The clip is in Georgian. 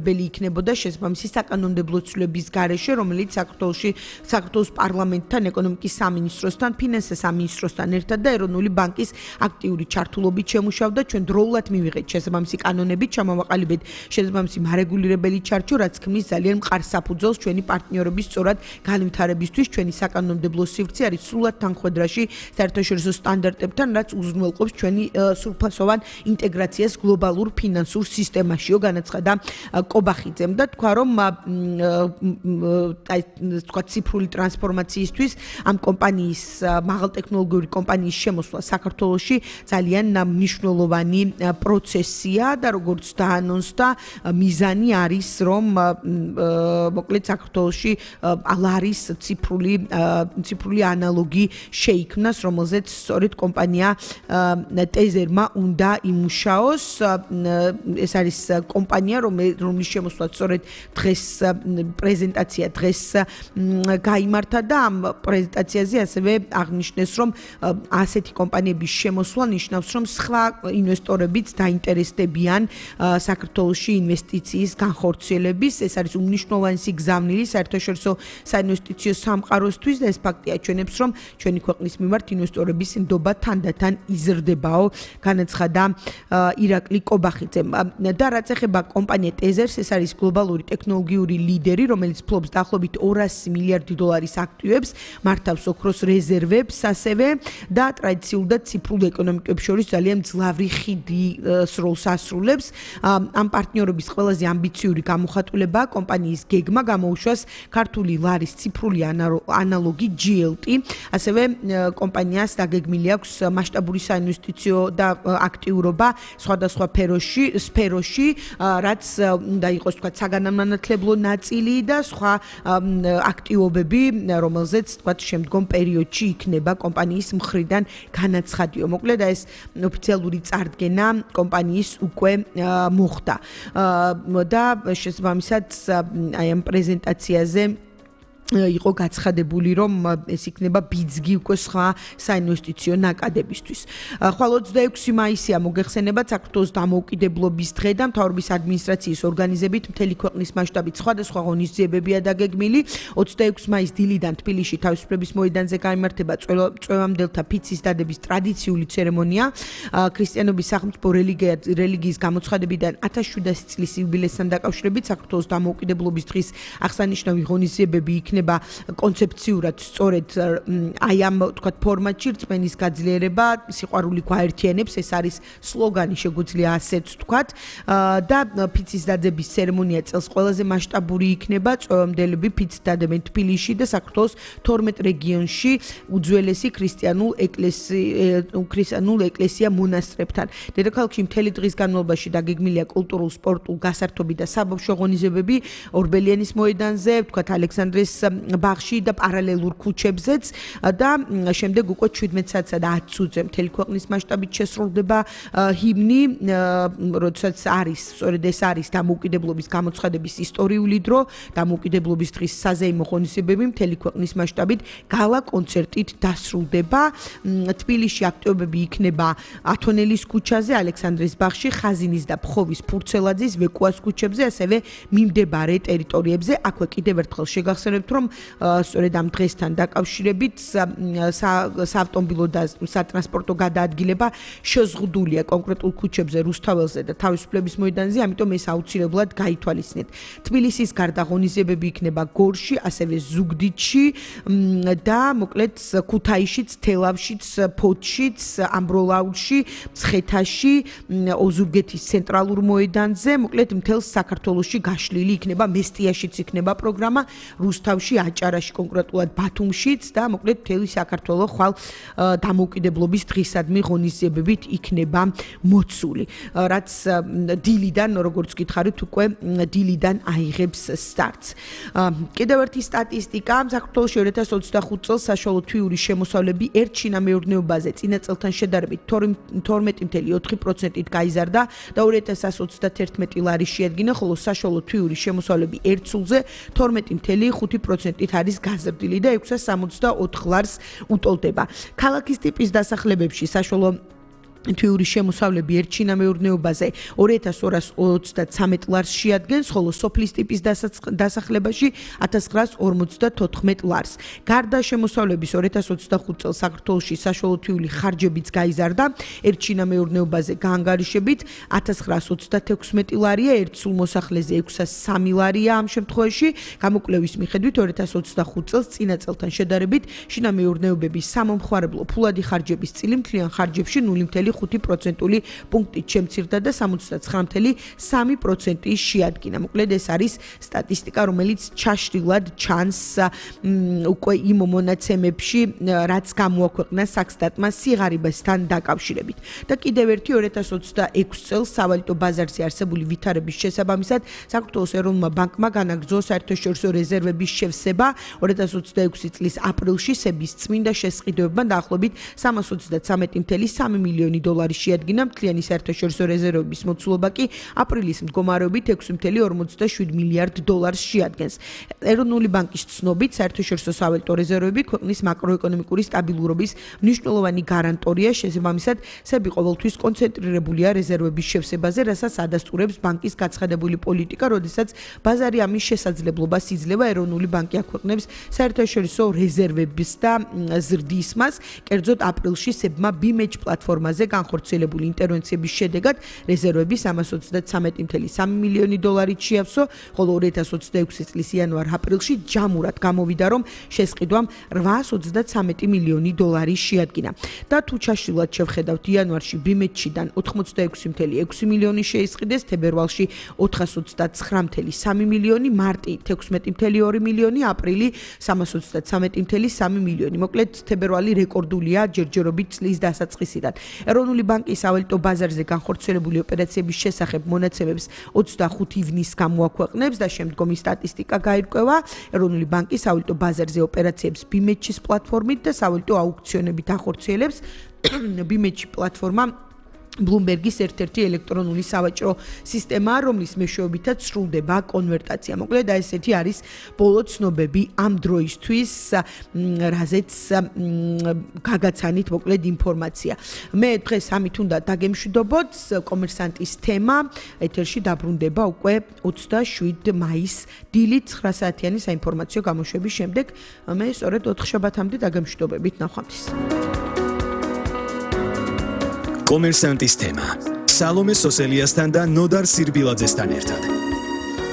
ბელი იქნებოდა შესაბამისი საკანონმდებლო ცვლილების გარეშე, რომელიც საქართველოს პარლამენტთან, ეკონომიკის სამინისტროსთან, ფინანსთა სამინისტროსთან ერთად და ეროვნული ბანკის აქტიური ჩართულობით შემუშავდა. ჩვენ დროულად მივიღეთ შესაბამისი კანონებით, ჩამოვაყალიბეთ შესაბამისი მარეგულირებელი ჩარჩო, რაც ქმნის ძალიან მყარ საფუძველს ჩვენი პარტნიორების სწორად განვითარებისთვის. ჩვენი საკანონმდებლო სივრცე არის სრულად თანხვედრაში საერთაშორისო სტანდარტებთან, რაც უზრუნველყოფს ჩვენი სრულფასოვან ინტეგრაციას გლობალურ ფინანსურ სისტემაშიო, განაცხადა კობახიძემ და თქვა, რომ ციფრული ტრანსფორმაციისთვის ამ კომპანიის მაღალტექნოლოგიური კომპანიის შემოსვლა საქართველოში ძალიან მნიშვნელოვანი პროცესია და როგორც დაანონსდა, მიზანი არის, რომ მოკლედ საქართველოში არის ციფრული ანალოგი შეიქმნას, რომელზეც სწორედ კომპანია ტეზერმა უნდა იმუშაოს. ეს არის კომპანია, რომლის შემოსვლა სწორედ დღეს პრეზენტაცია დღეს გაიმართა და ამ პრეზენტაციაზე ასევე აღნიშნეს, რომ ასეთი კომპანიების შემოსვლა ნიშნავს, რომ სხვა ინვესტორებიც დაინტერესდებიან საქართველოში ინვესტიციის განხორციელების. ეს არის უმნიშვნელოვანი სიგზავნილი საერთაშორისო საინვესტიციო სამყაროსთვის და ეს ფაქტი აჩვენებს, რომ ჩვენი ქვეყნის მიმართ ინვესტორების ნდობა თანდათან იზრდებაო, განაცხადა ირაკლი კობახიძემ. და რაც ეხება კომპანია ტეზერს, ეს არის გლობალური ტექნოლოგიური ლიდერი, რომელიც ფლობს დაახლოებით 200 მილიარდი დოლარის აქტივებს, მართავს ოქროს რეზერვებს ასევე და ტრადიციულ და ციფრულ ეკონომიკებს შორის ძალიან მძლავრი ხიდის როლს ასრულებს. ამ პარტნიორობის ყველაზე ამბიციური გამოხატულებაა კომპანიის გეგმა გამოუშვას ქართული ლარის ციფრული ანალოგი GLT. ასევე კომპანიას დაგეგმილი აქვს მასშტაბური საინვესტიციო და აქტიურობა სხვადასხვა სფეროში, რაც უნდა იყოს თქვა საგანმანათლებლო ნაწილი და სხვა აქტივობები, რომელზეც თქვა შემდგომ პერიოდში იქნება კომპანიის მხრიდან განაცხადიო. მოკლედ ეს ოფიციალური წარდგენა კომპანიის უკვე მოხდა. და შესაბამისად აი ამ პრეზენტაციაზე იყო გაცხადებული, რომ ეს იქნება ბიძგი უკვე სხვა საინვესტიციო ნაკადებისთვის. ხვალ 26 მაისია მოგეხსენებათ საქართველოს დამოუკიდებლობის დღე და მთავრობის ადმინისტრაციის ორგანიზებით მთელი ქვეყნის მასშტაბით სხვადასხვა ღონისძიებებია დაგეგმილი. 26 მაისს დილიდან თბილისში თავისუფლების მოედანზე გაიმართება წვევამდელთა ფიცის დადების ტრადიციული ცერემონია. ქრისტიანობის სახელმწიფო რელიგიის გამოცხადებიდან 1700 წლის იუბილესთან დაკავშირებით საქართველოს დამოუკიდებლობის დღის აღსანიშნავი ღონისძიებები იქნება კონცეფციურად სწორედ აი ამ თქვა ფორმატში რწმენის გაძლიერება, სიყვარული გვაერთიანებს, ეს არის სლოგანი, შეგვიძლია ასეც თქვა და ფიცის დადების ცერემონია წელს ყველაზე მასშტაბური იქნება. წვევამდელები ფიცს დადებენ თბილისში და საქართველოს 12 რეგიონში უძველესი ქრისტიანულ ეკლესია მონასტრებთან. დედაქალაქში მთელი დღის განმავლობაში დაგეგმილია კულტურულ, სპორტულ, გასართობი და საბავშვო ღონისძიებები ორბელიანის მოედანზე, თქვა ალექსანდრეს ბაღში და პარალელურ ქუჩებზეც და შემდეგ უკვე 17 საათსა და 10 წუთზე მთელი ქვეყნის მასშტაბით შესრულდება ჰიმნი, როდესაც არის სწორედ ეს არის დამოუკიდებლობის გამოცხადების ისტორიული დრო, დამოუკიდებლობის დღის საზეიმო ღონისძიებები მთელი ქვეყნის მასშტაბით გალა კონცერტით დასრულდება. თბილისში აქტივობები იქნება ათონელის ქუჩაზე, ალექსანდრეს ბაღში, ხაზინის და ფხოვის ფურცელაძის, ვეკუას ქუჩებზე, ასევე მიმდებარე ტერიტორიებზე. აქვე კიდევ ერთხელ შეგახსენებთ, რომ სწორედ ამ დღესთან დაკავშირებით საავტომობილო და სატრანსპორტო გადაადგილება შეზღუდულია კონკრეტულ ქუჩებზე, რუსთაველზე და თავისუფლების მოედანზე, ამიტომ ეს აუცილებლად გაითვალისწინეთ. თბილისის გარდა ღონისძიებები იქნება გორში, ასევე ზუგდიდში და მოკლედ ქუთაისშიც, თელავშიც, ფოთშიც, ამბროლაურში, მცხეთაში, ოზურგეთის ცენტრალურ მოედანზე, მოკლედ მთელ საქართველოში გაშლილი იქნება, მესტიაშიც იქნება პროგრამა, რუსთავში, აჭარაში, კონკრეტულად ბათუმშიც და მოკლედ მთელი საქართველო ხვალ დამოუკიდებლობის დღისადმი ღონისძიებებით იქნება მოცული, რაც დილიდან, როგორც გითხარით, უკვე დილიდან აიღებს სტარტს. კიდევ ერთი სტატისტიკა, საქართველოში 2025 წელს საშუალო თვიური შემოსავლები ერთ შინამეურნეობაზე წინა წელთან შედარებით 12.4%-ით გაიზარდა და 2131 ლარი შეადგინა, ხოლო საშუალო თვიური შემოსავლები ერთ სულზე 12.5%-ით არის გაზრდილი და 664 ლარს უტოლდება. ქალაქის ტიპის დასახლებებში საშუალო თვიური შემოსავლები ერთ შინა მეურნეობაზე 2223 ლარს შეადგენს, ხოლო სოფლის ტიპის დასახლებაში 1954 ლარს. გარდა შემოსავლების 2025 წელს საქართველოში საშუალო თვიური ხარჯებიც გაიზარდა, ერთ შინა მეურნეობაზე გაანგარიშებით 1936 ლარია, ერთ სულ მოსახლეზე 603 ლარია ამ შემთხვევაში. გამოკვლევის მიხედვით 2025 წელს წინა წელთან შედარებით შინა მეურნეობების სამომხმარებლო ფულადი ხარჯების წილი მთლიან ხარჯებში 0.5%-ული პუნქტით შემცირდა და 69.3% შეადგინა. მოკლედ ეს არის სტატისტიკა, რომელიც ჩაშლილად ჩანს უკვე იმ მონაცემებში, რაც გამოაქვეყნა საქსტატმა სიღარიბესთან დაკავშირებით. და კიდევ ერთი 2026 წელს სავალუტო ბაზარზე არსებული ვითარების შესაბამისად საქართველოს ეროვნულმა ბანკმა განაგრძო საერთაშორისო რეზერვების შევსება 2026 წლის აპრილში სების წმინდა შესყიდვებმა დაახლოებით 323.3 მილიონი დოლარი შეადგინა. მთლიანი საერთაშორისო რეზერვების მოცულობა კი აპრილის მდგომარეობით 6.47 მილიარდ დოლარს შეადგენს. ეროვნული ბანკის ცნობით, საერთაშორისო სავალუტო რეზერვები ქვეყნის მაკროეკონომიკური სტაბილურობის მნიშვნელოვანი გარანტორია, შესაბამისად, სები ყოველთვის კონცენტრირებულია რეზერვების შევსებაზე, რასაც ადასტურებს ბანკის გაცხადებული პოლიტიკა, როდესაც ბაზარი ამის შესაძლებლობას იძლევა. ეროვნული ბანკი აქვეყნებს საერთაშორისო რეზერვების და ზრდის მას, კერძოდ აპრილში სებმა BMH პლატფორმაზე განხორციელებული ინტერვენციების შედეგად რეზერვები 323.3 მილიონი დოლარით შეავსო, ხოლო 2026 წლის იანვარ-აპრილში ჯამურად გამოვიდა, რომ შესყიდვამ 823 მილიონი დოლარი შეადგინა. და თუ ჩაშლილად შევხედავთ, იანვარში BMH-დან 86.6 მილიონი შეისყიდეს, თებერვალში 429.3 მილიონი, მარტი 16.2 მილიონი, აპრილი 323.3 მილიონი. მოკლედ, თებერვალი რეკორდულია ჯერჯერობით წლის დასაწყისიდან. ეროვნული ბანკის სავალუტო ბაზარზე განხორციელებული ოპერაციების შესახებ მონაცემებს 25 ივნისს გამოაქვეყნებს და შემდგომი სტატისტიკა გაირკვევა. ეროვნული ბანკი სავალუტო ბაზარზე ოპერაციებს BMH-ის პლატფორმით და სავალუტო აუქციონებით ახორციელებს. BMH პლატფორმა Bloomberg-ის ერთ-ერთი ელექტრონული სავაჭრო სისტემაა, რომლის მეშვეობითაც სრულდება კონვერტაცია. მოკლედ, ესეთი არის ბოლო ცნობები ამ დროისთვის, რაზეც გაგაცანით მოკლედ ინფორმაცია. მე დღეს ამით უნდა დაგემშვიდობოთ. კომერსანტის თემა ეთერში დაბრუნდება უკვე 27 მაისს დილით 9 საათიანი საინფორმაციო გამოშვების შემდეგ. მე სწორედ 4 შაბათამდე დაგემშვიდობებით, ნახვამდის. კომერსანტის თემა სალომე სოსელიასთან და ნოდარ სირბილაძესთან ერთად.